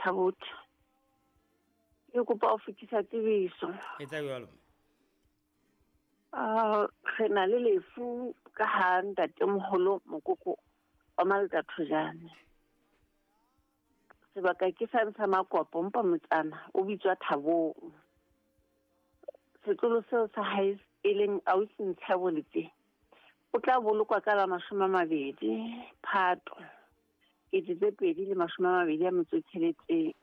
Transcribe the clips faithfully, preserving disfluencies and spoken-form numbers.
Bothabothe. Ke kopa ho fetisa tsebiso. Etsa jwalo. Ah, re na le lefu ka ha ntatemoholo mokoko wa Malta Thojane. Sebaka ke sa ntsha makopo mpa motsana o bitswa Thabong. Setlolo seo sa hae e leng ausi Ntshaboletse. O tla bolokwa ka la mashome a mabedi Phato kete tse pedi le mashome a mabedi a metso e tsheletseng.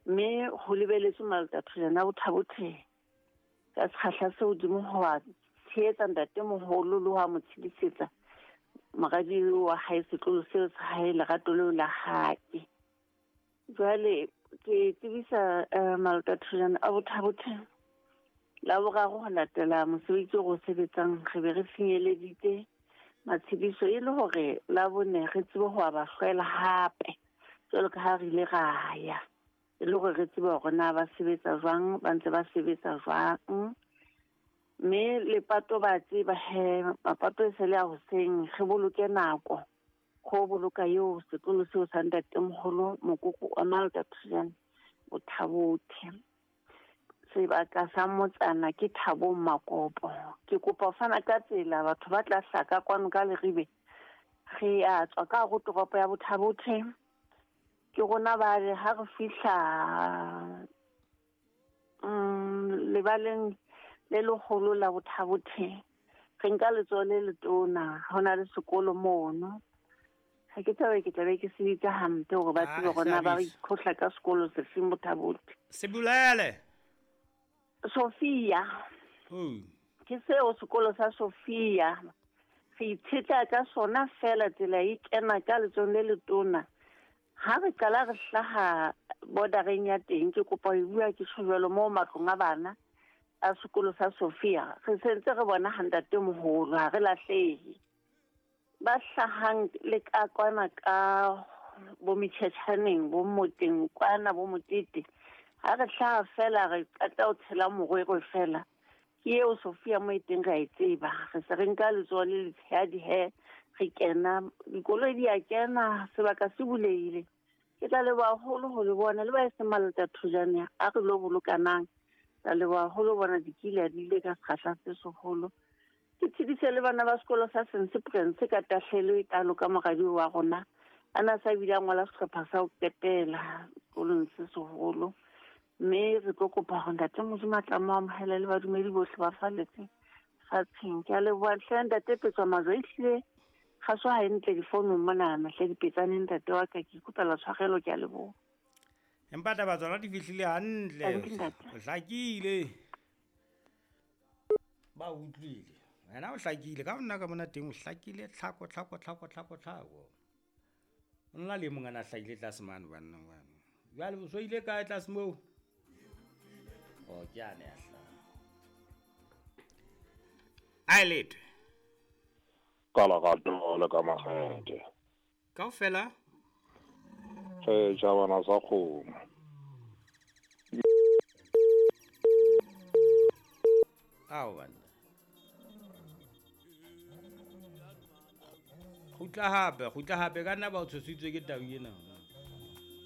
Mme ho lebeletswe Malta Thojane a Bothabothe ka sekgahla se hodimo ho wa tshehetsa ntatemoholo le ho wa mo tshedisetsa moradi wa hae setlolo seo sa hae lerato leo la hae. Jwale ke tsebisa uh, Malta Thojane a Bothabothe la boraro ho latela mosebetsi o re o sebetsang re be re finyeleditse matshediso e le hore la bone re tsebe ho ba hlwela hape jwalo ka ha re ile ra ya e le hore re tsebe hore na ba sebetsa jwang, ba ntse ba sebetsa jwang. Mme lepato ba tseba he mapato e se le a hoseng, re boloke nako go boloka eo setlolo seo sa ntatemoholo mokoko wa Malta Thojane Bothabothe. Sebaka sa motsana ke Thabong Makopo. Ke kopa ho fana ka tsela batho ba tla hlaka kwano ka Leribe. Re a tswa ka hare ho toropo ya Bothabothe. Ke rona ba re ha re fihla mm lebaleng le leholo la Bothabothe re nka letsoho le letona, ho na le sekolo mono. Ha ke tlabe ke tlabe ke se bitsa hampe hore ba tsebe hore na ba ikhohla ka sekolo sefeng Bothabothe. Se bolele. Sophia. Oh. Ke seo sekolo sa Sophia. Re itshetla ka sona fela tsela e kena ka letsohong le letona. Ha re qala re hlaha bordereng ya teng, ke kopa ho bua ke tjho jwalo moo matlong a bana a sekolo sa Sophia. Re sentse re bona ha ntatemoholo, ha re lahlehe. Ba hlahang le ka kwana ka bo metjhetjhaneng, bo moteng kwana, bo motete. Ha re hlaha fela re qeta ho tshela morwero fela. Ke eo Sophia mo e teng re a e tseba. Re se re nka letsoho le letshehadi he re kena, dikoloi di a kena, sebaka se bulehile. Ke tla leboha haholo ho le bona le ba e seng Malta Thojane a re lo bolokanang. Tla leboha haholo bona dikile di ile ka sekgahla se seholo. Ke tshedise le bana ba sekolo sa Saint Prince ka tahlelo e kalo ka moradi wa rona. A na sa bile a ngola sehlopha sa ho qetela sekolong se seholo. Mme re tlo kopa hore ntate Modimo a tla mo amohela le badumedi bohle ba falletseng fatsheng. Ke a leboha hle ntate Petswa Majwe, ehlile kgaso ha e ntle difounung monana hle dipetsaneng ntate wa ka, ke ikopela tshwarelo, ke a leboha. Empa taba tsona di fihlile hantle. O hlakile. Ba utlwile. Wena o hlakile ka nna ka mona teng o hlakile tlhako tlhako tlhako tlhako tlhako. O nna le mongana hlakile tlase mane banna bana. Jwale o so ile kae tlase moo? O ke a ne a hlaha. Ai letwe. Ka lerato le ka makgethe. Kaofela? Re tjhabana sa kgomo. Ao banna. Kgutla hape, kgutla hape ka nna ba o tshositswe ke tau ena.